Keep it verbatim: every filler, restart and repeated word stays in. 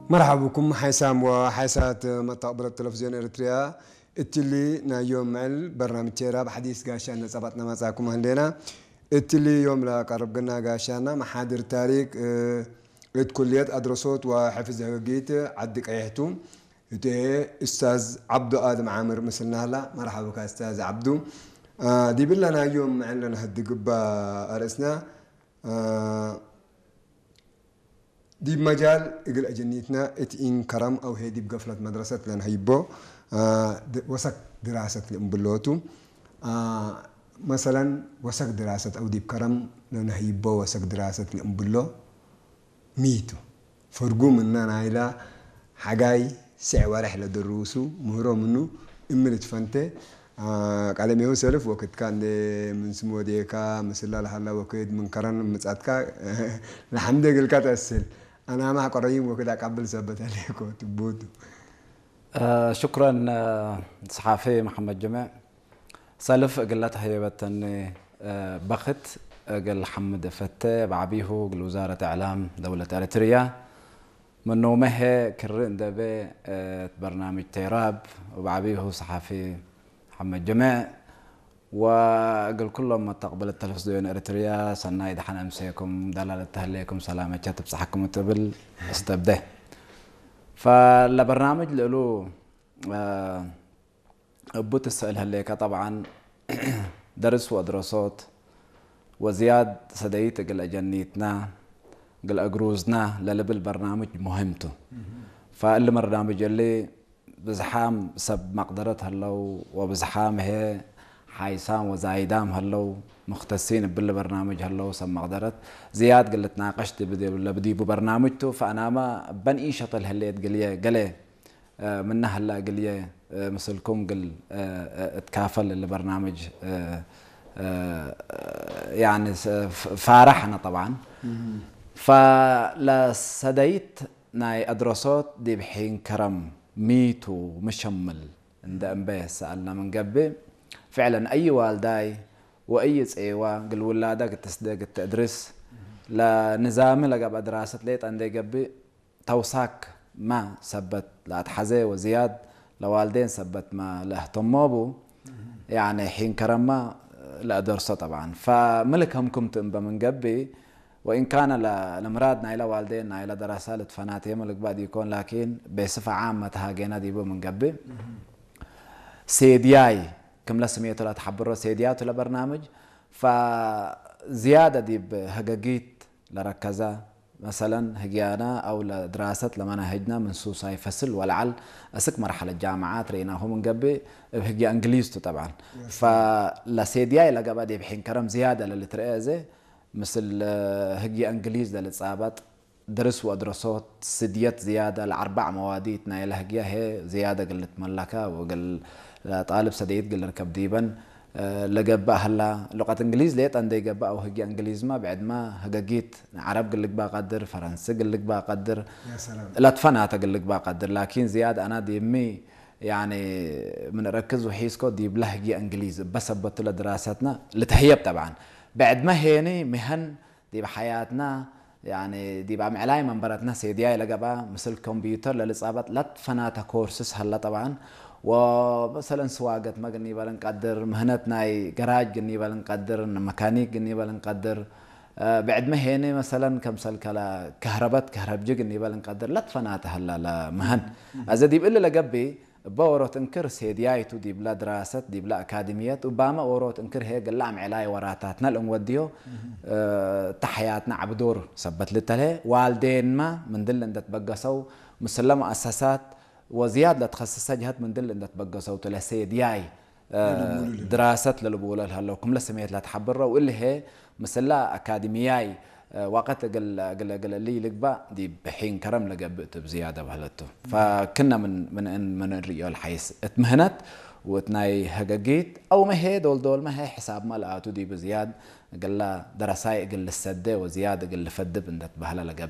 መርሐብኩም ሓይሳም ወሓይሳት መተቅብለት ተለፍዝዮን ኤረትርያ። እትሊ ናይ ዮም ምዕል በርናምጅ ቴራብ ሐዲስ ጋሻነ ጸባጥነ መጻኩም ህሌና። እትሊ ዮም ለቀርብ ግና ጋሻና መሓድር ታሪክ፣ እ፣ እት ኩልየት አድረሶት ወሕፍዝ ህግጊት ዐዲ ቀይሕቱ። እቴ እስታዝ ዐብዱ አድም ዓምር ምስልና ሀላ። መርሐብካ እስታዝ ዐብዱ። አ፣ ዲብለ ናይ ዮም ምዕል ለነሀድግ እባ አርእስና፣ አ፣ ዲብ መጃል እግል አጀኒትና እት ኢን ከረም አው ህይ ዲብ ገፍለት መድረሰት ለነሀይቦ፣ አ፣ ድ-፣ ወሰክ ድራሰት ለእምብሎ ቱ። አ፣ መሰለን ወሰክ ድራሰት አው ዲብ ከረም ለነሀይቦ ወሰክ ድራሰት ለእምብሎ ሚ ቱ? ፈርጉ ምነ ናይላ ሐጋይ ስዕ ወሬሕ ለድሩሱ ምህሮ ምኑ እምል ትፈንቴ። አ፣ ቀለሜሁ ሰልፍ ወክድካ እንዴ ምን ስም ወዴካ ምስላ ለሀላ ወክድ ምን ከረን ምጻትካ ለሐምዴ እግልካ ተአስል። አናማሕ ቆረይም ወክድ አቀብል ሰበት አሌኮ ትቡቱ። አ፣ ሽኩረን፣ አ፣ ሰሓፊ መሐመድ ጀሜዕ። ሰልፍ እግለ ተህየበተኒ፣ አ፣ በክት እግል ሐምድ እፈቴ፣ በዐቢሁ እግል ውዛረት እዕላም ደውለት ኤረትርያ። ምኖመ ህዬ ክሪ እንዴ ቤ፣ እ፣ እት በርናምጅ ቴራብ ወበዐቢሁ ሰሓፊ መሐመድ ጀሜዕ ወእግል ኩሎም መተቅብለት ተለፍዝዮን ኤረትርያ ሰናይ ደሐን አምሴኩም፣ ደላለት ተህሌኩም ሰላመቻ ትብጽሐኩም እት እብል እስተብዴ። ፈለበርናምጅ ልእሉ፣ እ፣ እቡ ትሰእል ህሌከ፣ ጠብዓን ደርስ ወአድረሶት ወዝያድ ሰደይት እግል አጀኒትና፣ እግል አግሩዝና ለልብል በርናምጅ ሙሂም ቱ። ፈእሊ በርናምጅ እሊ ብዝሓም ሰብ መቅደረት ህለው፣ ወብዝሓም ህዬ ሓይሳም ወዛይዳም ህለው፣ ሙክተሲን እብሊ በርናምጅ ህለው፣ ሰብ መቅደረት ዝያድ እግል ልትናቀሽ ዲብ፣ ዲብ፣ ለብዲቡ በርናምጅ ቱ። ፈአናመ እበን ኢሸተል ህሌት ግልየ ገሌ እ፣ ምነ ሀላ እግልዬ፣ እ፣ ምስልኩም እግል፣ እ፣ እ፣ እትካፈል እሊ በርናምጅ፣ እ፣ እ፣ ያኒ ስ-፣ ፍ-፣ ፋረሕ አነ ጠብዓን። ፈለሰደይት ናይ አድረሶት ዲብ ሒን ከረም ሚ ቱ ምሸምል እንደ እንበ ሰአልና ምን ገብእ፣ ፍዕለን አይ ዋልዳይ ወአይ ጼዋ እግል ውላዳ እግል ትስደግ እት አድርስ፣ ለንዛሚ ለገብአ ድራሰት ሌጠ እንዴ ገብእ፣ ተውሳክ ማ ሰበት ለአትሐዜ ወዝያድ ለዋልዴን ሰበት ማ ለአህተሞ ቡ፣ ያኒ ሒን ከረማ ለአደርሶ ጠብዓን። ፈምልክ ህምክምቱ እምበ ምን ገብእ፣ ወኢን ካነ ለ-፣ ለምራድ ናይለ ዋልዴን ናይለ ደረሳ ልትፈናቴመ ልግባእ ዲኮን፣ ላኪን ቤስፈ ዓም መትሃጌና ዲቡ ምን ገብእ፣ ሴድያይ ክምለ ስሜቱ ለትሐብሮ ሴድያቱ ለበርናምጅ፣ ፈዝያደ ዲብ ሀገጊት ለረከዘ፣ መሰለን፣ ህግያና አው ለድራሰት ለመናህጅና ምን ሱሳይ ፈስል ወለዐል፣ አስክ መርሐለት ጃምዓት ርኢናሁ ምን ገብእ፣ እብ ህግየ እንግሊዝ ቱ ጠብዓን። ፈለሴድያይ ለገብአ ዲብ ሒን ከረም ዝያደ ለልትረኤ እዜ፣ ምስል ህግየ እንግሊዝ ለልትጻበጥ፣ ድርስ ወአድረሶት ስድየት ዝያደ ለአርበዕ መዋዲት ናይለ ህግየ ህዬ ዝያደ እግል ልትመለከ ወእግል ለጣልብ ሰደይት እግል ልርከብ ዲበን፣ እ፣ ለገብእ ሀላ። ሉቀት እንግሊዝ ሌጠ እንዴ ገብእ አው ህግየ እንግሊዝመ ብዕድመ ህገጊት ዐረብ እግል ልግበእ ቀድር፣ ፈረንሲ እግል ልግበእ ቀድር፣ ያ ሰላም። ለትፈናተ እግል ልግበእ ቀድር። ላኪን ዝያድ አነ ዲብሚ፣ ያኒ፣ ምን እረክዝ ወሒዝኮ ዲብለ ህግየ እንግሊዝ እበ ሰበቱ ለድራሰትነ ልትህየብ ጠብዓን። ብዕድመ ሄኒ ምህን ዲብ ሐያትና፣ ያኒ፣ ዲብ አምዕላይ መንበረትነ ሴድያይ ለገብአ፣ ምስል ኮምፕዩተር ለልጻበጥ ለትፈናተ ኮርስስ ሀለ ጠብዓን። ወመሰለን ስዋገትመ ግኒበ ልንቀድር፣ ምህነት ናይ ገራጅ ግኒበ ልንቀድር፣ መካኒክ ግኒበ ልንቀድር፣ እ፣ ብዕድመ ሄኒ መሰለን ከምሰል ከለ ከህረበት ከህረብጂ ግኒበ ልንቀድር ለትፈናተ ሀለ ለምህን። አዜ ዲብ እሊ ለገብእ፣ እበ ዎሮት እንክር ሴድያይ ቱ ዲብለ ድራሰት፣ ዲብለ አካድምየት፣ ኡባመ ዎሮት እንክር ህዬ እግለ አምዕላይ ወራታትነ ለእንወድዮ፣ እ፣ እተ ሐያትነ ዐቢ ዶር ሰበት ልተልሄ፣ ዋልዴንመ ምንድል እንደ ትበገሰው፣ ምስለ መአሰሳት ወዝያድ ለትከሰሰ ጀሀት ምንድል እንደ ትበገሰው ቱ ለሴድያይ፣ እ፣ ለልቡሉ ለህለው። ድራሰት ለልቡለ ለህለው፣ ክምለ ስሜት ለትሐብረው፣ እሊ ህዬ ምስለ አካድምያይ፣ እ፣ ወቀት እግል፣ እግል፣ እግል እሊ ልግባእ ዲብ ሒን ከረም ለገብእ ቱ ብዝያደ በህለት ቱ። ፈክነ ምን፣ ምን እን፣ ምን እንርእዮ ለሐይስ እት ምህነት ወእት ናይ ህገጊት አውመ ህዬ ዶል፣ ዶልመ ህዬ ሕሳብመ ለአቱ ዲብ ዝያድ እግለ ደረሳይ እግል ልሰዴ ወዝያድ እግል ልፈድብ እንደ ትበህለ ለገብእ።